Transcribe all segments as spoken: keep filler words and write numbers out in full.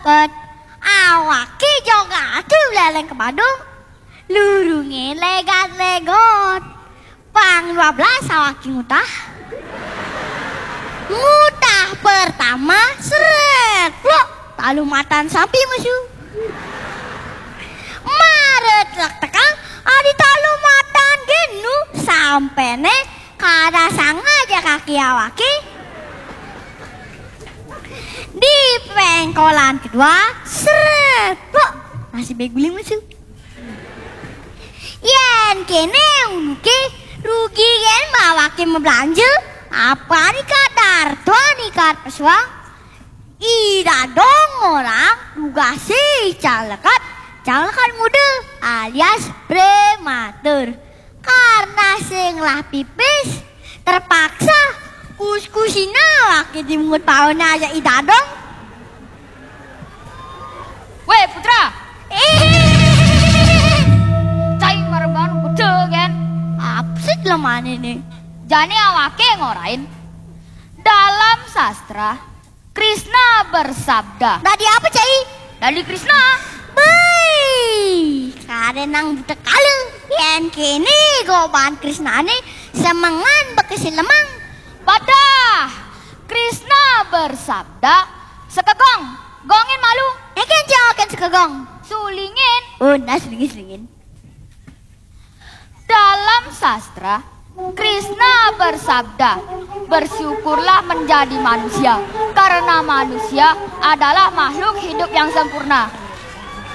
Pet, awaké joget ati léleng ka Badung. Lurungé légat-légot. Pang dua belas awaké ngutah. Ngutah pertama, srét, plok, talu matan sampi mesu. Mara tektek-tektekang, adi talu matan gén nu, sampéné kada sanga ja kaki awaké. Di péngkolan kedua, srét, plok, nasi bé guling mesu. Yén kéné unduké, rugi gén awaké mablanja, apané kadar tuan ikat pesuang. I Dadong ngorang tugasé cang lekad, cang lekad muda alias prematur. Karena sing ngelah pipis, terpaksa kus-kusina awaké dimungut paoné ajak I Dadong. Wéh, Putra. Cai mara baan gedé, gén. Apa sih jelemané né? Jani awaké ngorain. Dalam sastra, Krishna bersabda. Dadi apa, Cai? Dadi Krishna. Béi, kadén nang buta kala. Yén kéné goban Krishnané semengan bekesil lemang. Padah Krishna bersabda, sekegong, gongin malu. Éngkén, Cai, kén sekegong. Sulingin. Oh, nah, sulingin, sulingin. Dalam sastra, Krishna bersabda, bersyukurlah menjadi manusia, karena manusia adalah makhluk hidup yang sempurna.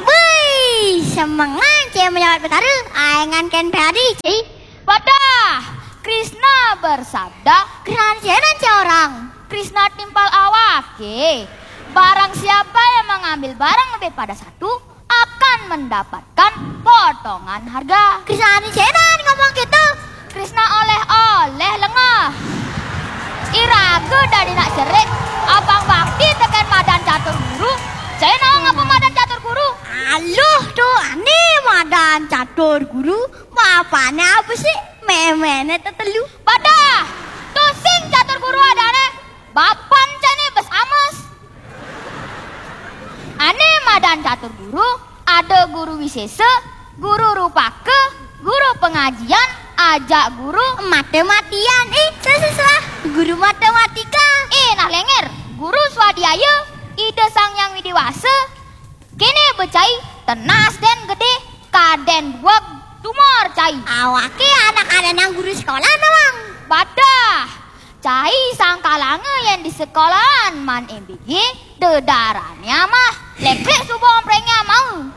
Béi, semengan Cai menyawat Betara, aéngan kén padi, Cai. Padah Krishna bersabda. Krishna sianan, Cai, orang? Krishna timpal awaké. Barang siapa yang mengambil barang lebih pada satu, akan mendapatkan potongan harga. Krishna sianan ngomong gitu? Krishna oleh-oleh lengeh. Iraga dadi nak cerik, abang bakti tekén madan catur guru. Cai nawang apa madan catur guru? Aluh, to ané madan catur guru, bapané apa sih? Méméné tetelu. Padah, to sing catur guru adané, bapan cainé bes ames. Ané madan catur guru, ada guru wisésa, guru rupaka, guru pengajian, ajak guru. Mati-matian, ih, salah-salah. Guru matematika. Ih, nah léngér, guru swadhyaya, Ida Sang Hyang Widhi Wasa. Kéné ba Cai, tenas dén gedé, kadén dueg, tumor Cai. Awaké anak adanang guru sekolah nawang? Padah, Cai sangkalanga yén di sekolahan maan M B G, dedarané amah, léklék suba ompréngé amau.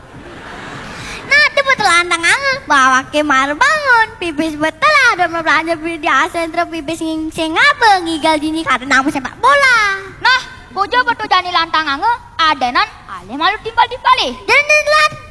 Nah, to betul lantanganga, bawaké mara bangun, pipis betul ada belanja di asentra pipis sing apa, ngigal dini kada nang sepak bola. Nah, bojo betul jani lantanganga, adénan alih malu timpal-timpalé. Dén, dén, dén.